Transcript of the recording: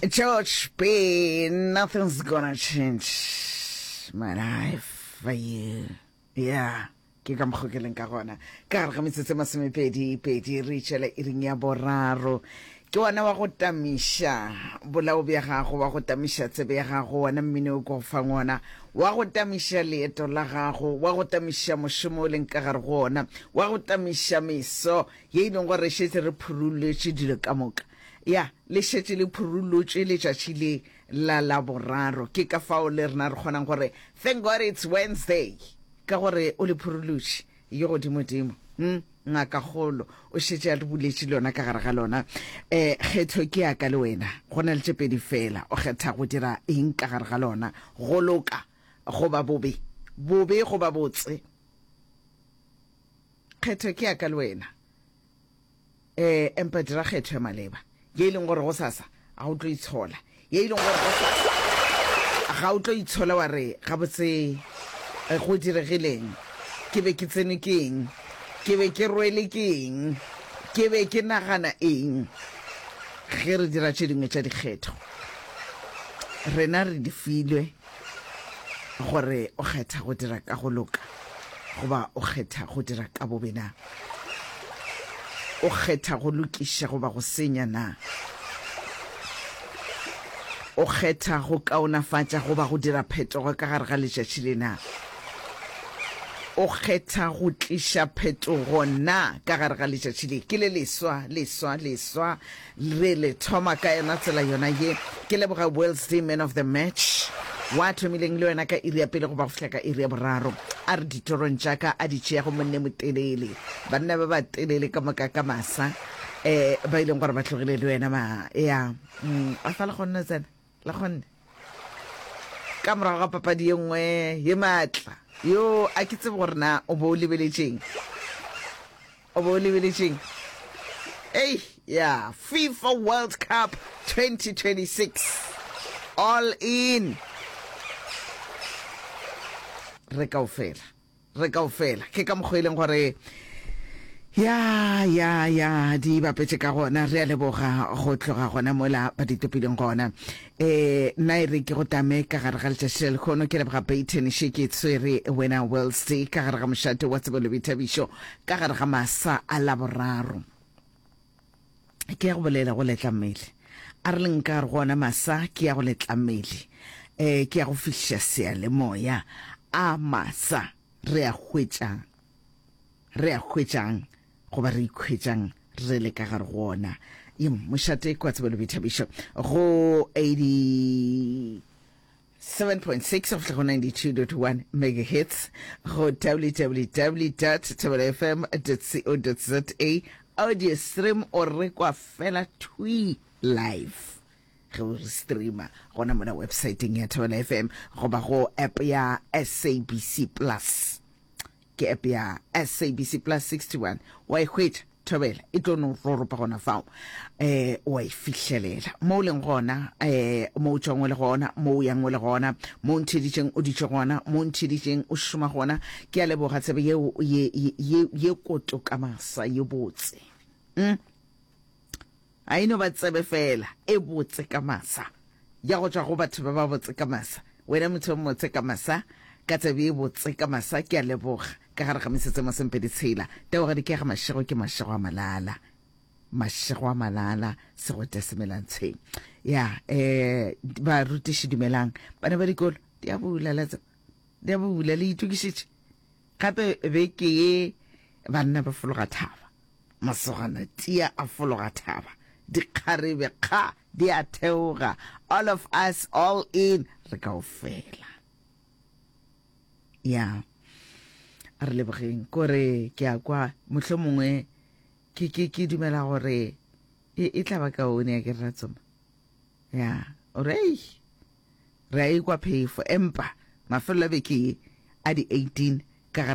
George B, nothing's gonna change my life for you. Yeah. Ke ka mokgo ke leng ka gona. Ka gare ga metsotso e masomepedi pedi re itšela iring ya boraro. Ke wona wa go tamiša bolao bja gago, wa go tamiša tsebe ya gago, wona mmino o ke go fang wona, wa go tamiša leeto la gago, wa go tamiša mošomo o leng ka gare go wona, wa go tamiša meso ye e leng gore re šetše re phurulotše dilo ka moka. Ya, le šetše le phurulotšwe letšatši le la Laboraro. Ke ka fao le rena re kgonang gore, Thank God it's Wednesday! Ka gore o le phurulotše, yo godimodimo. Hm, ngakakgolo o šetše a re buletše lona ka gare ga lona. Um kgetho ke ya ka le wena. Go na le tše pedi feela. O kgetha go dira eng ka gare ga lona, go loka goba bobe, bobe goba botse. Kgetho ke ya ka le wena. Eh, empa dira kgetho ya maleba, ye e leng gore gosasa ga o tlo itshola, ye e leng gore gosasa ga o tlo itshola wa re, Gabotse, eh, go diregileng? Ke be ke tsenwe ke eng? Ke be ke rwele ke eng? Ke be ke nagana eng? Ge re dira tše dingwe tša dikgetho, rena re di filwe. Gore o kgetha go dira ka go loka goba o kgetha go dira ka bobe na? O kgetha go lokiša goba go senya na? O kgetha go kaonafatša goba go dira phetogo ka gare ga letšatši le na? O kgetha go tliša phetogo na ka gare ga letšatši le? Ke le leswa, leswa, leswa. Re le thoma ka yona tsela yona ye. Ke leboga Wellesley man of the match wa thomileng le wena ka iri ya pele go ba go fihla ka iri ya boraro. A re ditorong tša ka a di tšeago monne motelele. Banna ba ba telele ka moka ka masa eh ba ileng gore ba tlogile le wena ma ya mm, a fa le kgonne tsena le kgonne ka morago ga papadi ye nngwe ye maatla yo a ke tsebe gore na o bo o lebeletšeng O be o lebeletšeng? Ei, ya, FIFA World Cup 2026. All in. Re kaofela. Re kaofela. Ke ka mokgwa e leng gore ya ya ya di bapetše ka gona re a leboga go tloga gona mola ba di topileng gona Eh, nna e re ke go tame ka gare ga letšatši la lekgono. Ke leboga Peyton še ke tshwere wena Wells ka gare ga mošate wa tsebo le boithabišo ka gare ga masa a Laboraro. Ke ya go bolela go letla mmele. A re leng ka gare go ona masa ke ya go letla mmele. Eh, ke ya go fihliša seyalemoya a masa re a hwetšang. Re a hwetšang goba re ikhwetšang re le ka gare go ona. Ye mošate kwa tsebo le boithabišo go 87.6 go fihla go 92.1 megahertz go www.thobelafm.co.za audio stream o rekwa fela thwi live ge o re streama gona mona websiteng ya Thobela FM goba go app ya SABC Plus. Ke app ya SABC Plus 61. Wa e hwetša, Thobela, e tlo no roropa gona fao. Eh, wa e fihlelela. Mo o leng gona, eh, mo o tšwang o le gona, mo o yang o le gona, mo o ntheeditšeng o dutše gona, mo o ntheeditšeng o šoma gona. Ke a leboga tsebe yeo ye, ye, ye, ye koto ka masa, ye botse. Mm. A e no ba tsebe feela e botse ka masa, ya go tšwa go batho ba ba botse ka masa. Wena motho yo motse ka masa, ka tsebe e botse ka masa, ke a leboga. Ka gare ga metsotso e masomepedi tshela, Tebogedi ke ya ga Mašego, ke mašego a malala. Mašego a malala, segwete se melantshweng. Ya, eh, barutiši dumelang. Bana ba dikolo, di a bula, la tseba. Di a bula, le itokišitše. Gape beke ye banna ba fologa thaba. Masogana tia a fologa thaba, dikgarebe kga di a theoga, all of us all in, re kaofela. Ya, a re lebogeng. Kore ke a kwa, mohlomongwe ke, ke, ke dumela gore e, e tla ba kaone ya ke re ra tsoma. Ya, o re, ei, re a ikwa phefo, empa mafelelo a beke ye a di 18.